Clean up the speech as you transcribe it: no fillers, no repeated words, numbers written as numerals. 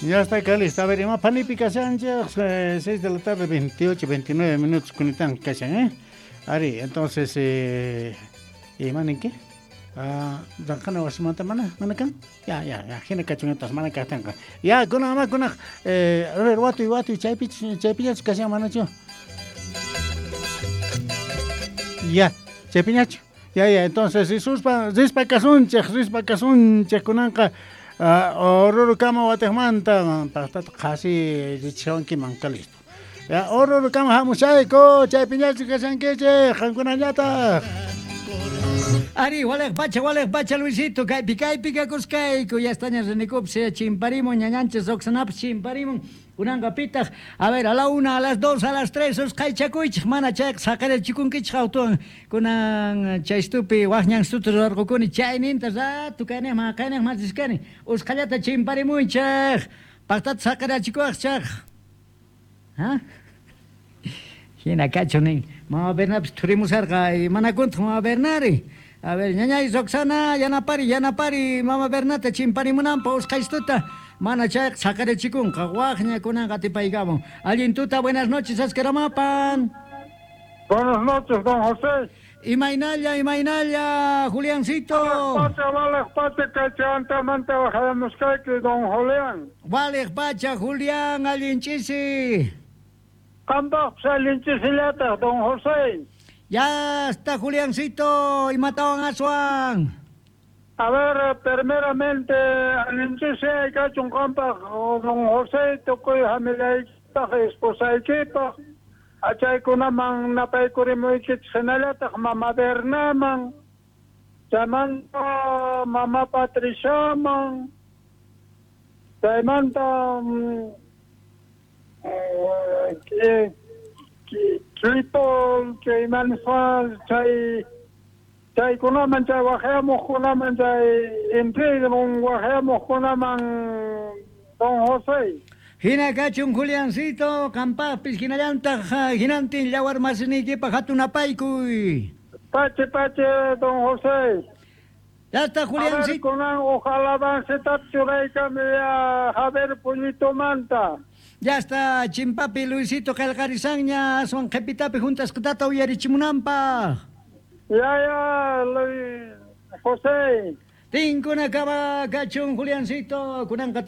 Ya está acá listo. A ver, ima panipi kashanchik, 6 de la tarde, 28, 29 minutos kunitan kashan, ¿eh? Ari, entonces, ima ninki? Ah, ranqana wasimanta mana, mana kan? Ya, ya, ya, hina kachun entonces, mana kaqtinqa. Ya, kunan ama kunaq, a ver, watuy, watuy, chaypi, chaypiñachu kashan manachu? Ya, chaypiñachu. Ya, ya, entonces, risuspa, rispa kasunchik, rispa kasunchik kunanqa, Orurukama watiqmanta, paqtata qhasi richishawankiman, listo. Ya, Orurukama hamushayku, chaypiñachu kashankichik, qankunañataq. Ari, waleq pacha, Luisito, kaypi, kaypi kakuskayku, ya estaña rinikupis, chimparimun, ñañanchis Roxanapis chimparimun, kunanqa pitaq, a ver, a la 1, a las 2, a las 3, usqhaychakuychik, mana chayqa saqirachikunkichik autuwan, kunan chaystupi waqñanstuta rurarqukuni, chayninta rato kayniqman, kayniqman riskani, usqhallata chimparimuychik, paqtata saqirachikuwaqchaq. ¿Ah? Hina kachu nin, mama Bernapis thurimusarqa, manakuntaq mama Bernari. A ver, ñañay Roxana, yanapari, yanapari, mama Bernata chimparimunanpa usqhaystuta, mana chayqa saqirachikunqa, waqña kunanqa atipaykamun. Allin tuta, buenas noches, Ascaramapan. Buenas noches, don José. Imaynalla, imaynalla, Juliancito. Pacha, vale, pacha, kachantamanta bajamusqayki, don Julián. Vale, pacha, Julián, allin chisi. Qanpaqpas allin chisillataq, don José. Ya está, Juliancito, imatawan aswan. A ver, primeramente, allin chisi kachun qanpaq, don José, tukuy familiaykipaq, esposaykipaq, achaykunaman napaykurimuykichik hinallataq mama Bernaman, chaymanta mama Patriciaman, chaymanta Tripol, chay chay chaykunaman chay waqhayamuqkunaman chay intrigun waqhayamuqkunaman don José. Hina kachun Juliancito, qampaqpis hinallantaq hinantin yawar masiniykipaq hatun apaykuy. Pache, pache, don José. Ya está, Juliancito. A ver, kunan ojalá avancetap churaykami ya Javier Puñito Manta. Ya está, Chimpapi Luisito qillqarisanña, aswan qhipitapi juntasqatata uyarichimunanpaq. Ya, ya, Luis José. Tinkuna kaba kachun Juliancito, kunanqa.